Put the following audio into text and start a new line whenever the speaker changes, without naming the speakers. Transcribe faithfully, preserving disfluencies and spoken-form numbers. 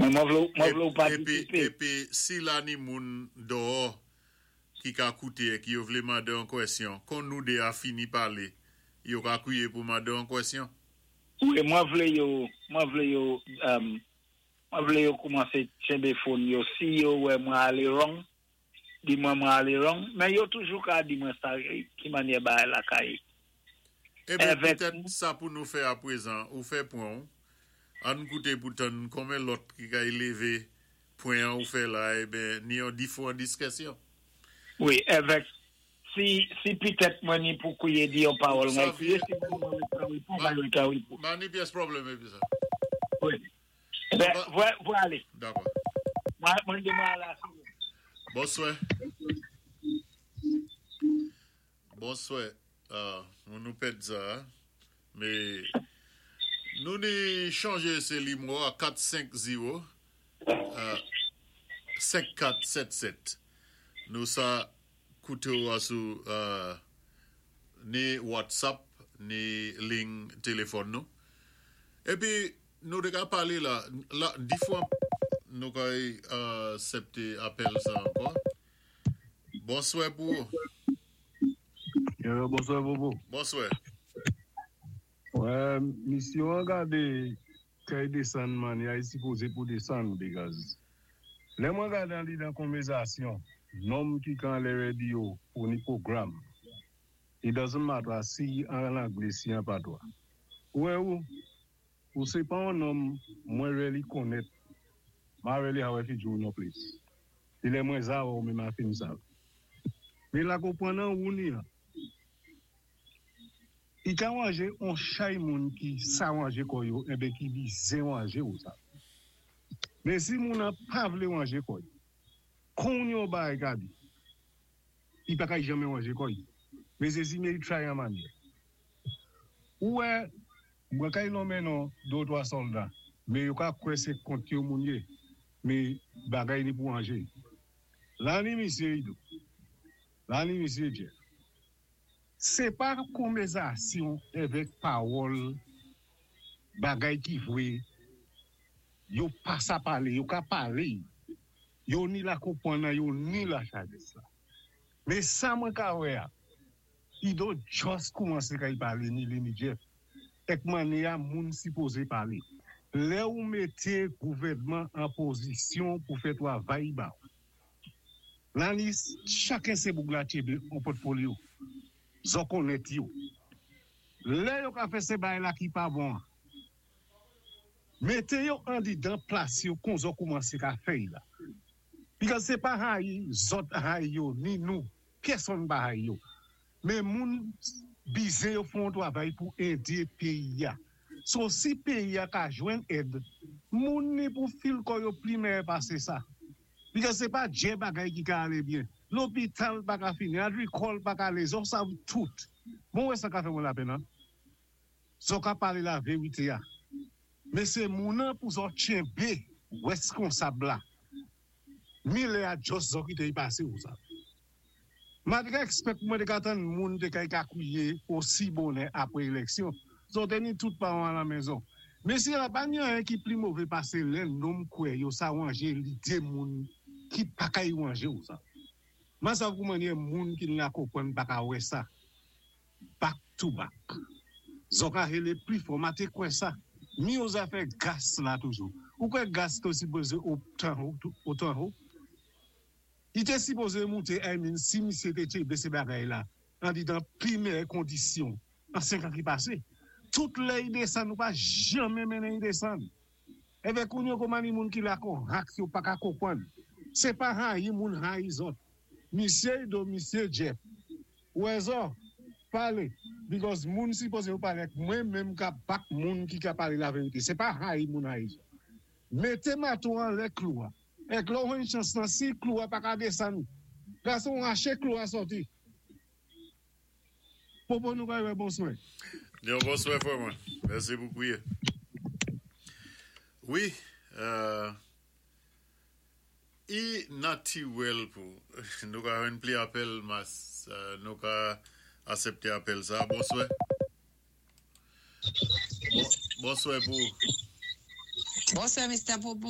Mwen mwen vlé mwen vlé ou
Épi,
patisipé.
Épi si la ni moun déyò ki ka kouté ki yo vlé mandé an kwèsyon, kon nou dé a fini palé, yo ka kwiyé pou mandé an kwèsyon.
Wi, mwen vlé yo, mwen vlé yo, um, mwen vlé yo koumansé tchenbé phone yo. Si yo wè mwen alé wrong, di mwen mwen alé wrong, men yo toujou ka di mwen sa, ki mannyè bagay la ka yé.
Eben,
Avèk
petèt sa pou nou fè a prezan, ou fè pwen, ann kouté pou tann konmen lòt ki ka lévé pwen an ou fè la, eben, ni an difwan diskisyon.
Wi, avèk, si, si petèt mwen ni pou kwiyé di yon pawòl,
Sa
mwen kwiyé,
vye-
si mwen mwen mwen mwen mwen mwen mwen
Pa ni pyès pwoblèm épi sa.
Wi. Ben, vwé, vwé alé.
Dakò.
Mwen, mwen di mwen ala.
Bonswè. Bonswè. Ah, nou nou pèd sa, mé nou ni chanjé sé nimewo a kat senk zewo senk kat sèt sèt. Nou sa kouté ou a sou euh, ni WhatsApp ni liy téléfòn nou. Épi nou té ka palé la, la di fwa nou ka asèpté apèl sa ankò. Bonswè pou ou.
Yeah, bonswè Bobo.
Bonswè.
Wè, misyon an gadé kay désann man, ya sipozé pou désann because lè mwen gadé an li dan konvèzasyon, nonm ki kan lè radio pou ni pwogram, it doesn't matter si an anglé, si an patwa. Wè ou, ou sé pa an nonm mwen really konnèt, ma really hawe fi jou no place. Di lè mwen za ou mè ma fin sa. Mé la konpwann an ou ni an. I ka wanje on chay moun ki sa wanje kò yo, enben ki bizin wanje ou sa. Mé si moun an pa vlé wanje kò yo, kon yon bagay ka di, i pa ka janmè wanje kò yo. Mé sé si mé try an mannyè. Ou wè, mwen kay nonmen non dé ou twa sòlda, mé yo ka kwè sé kont yo moun yé, mé bagay ni pou wanje. La ni misye Ido, la ni misye Jeff. Sé pa konvèzasyon avèk pawòl bagay ki vwé, yo pa sa palé, yo ka palé, yo ni la konpwann nan, yo ni la sajès la. Mé sa mwen ka wè a, Ido just koumansé kay palé ni li ni Jeff. Èk mannyè a moun sipozé palé. Lè ou mété gouvèdman an pozisyon pou fè twavay ba ou. La ni chaken sé boug la tchenbé an portfolio. Zo konnèt yo. Lè yo ka fè sé bagay la ki pa bon. Mété yo andidan plas yo kon zo koumansé ka fè la. Because sé pa hayi, zòt hayi yo, ni nou, pèsonn pa hayi yo. Mé moun bizin yo fon twavay pou édé péyi a. So si péyi a ka jwenn èd, moun ni pou feel kò yo pli meyè pasé sa. Because sé pa djè bagay ki ka alé byen. Lopital pa ka fini, agrikòl pa ka alé, zo sav tout. Bon wè sa ka fè mwen lapèn an? Zo ka palé la vérité a. Mé sé moun an pou zo tchenbé wèskonsab la. Mi lè a just zo ki te y pasé ou sa. Ma te ka expect mwen te ka tann moun te kay ka kwiye osi bonè apwé éleksyon. Zo te ni tout pawan la mezon. Mé si la pa ni an ki pli mové pasé lè nonm kwè yo sa wanje lidé moun ki pa kay wanje ou sa. Ma sa kou manye moun ki la konpwann pa ka wè sa. Back to back. Zo ka rélé pli fò, ma té kwè sa. Mi yo zafè gas la toujou. Ou kwè gas té sipozé otan ho, otan ho? I té sipozé mouté, I mean, si misye té tchenbé sé bagay la, andidan pli meyè kondisyon, an senk an ki pasé. Tout lè i désann, nou pa janmè mennen i désann. Eben koun yo kouman ni moun ki la kon hak yo pa ka konpwann. Sé pa hayi moun hayi zòt. Misye Ido, misye Jeff. Wè zo, palé. Because moun sipozé yo palé, mwen menm ka bak moun ki ka palé la vérité. Sé pa hayi moun hayi zòt. Mété mato an lè klou a. Èk lò ou chans nan si klou a pa ka désann. Gason raché klou a sòti. Popo nou ka wè bonswè.
Yon bonswè frè mwen. Mèsi pou kwiye. Wi, euh, i natirèl pou nou ka jwenn pli apèl mas euh, nou ka asèpté apèl sa. Bonswè. Bon, bonswè pou
Bonswè, Mister Popo.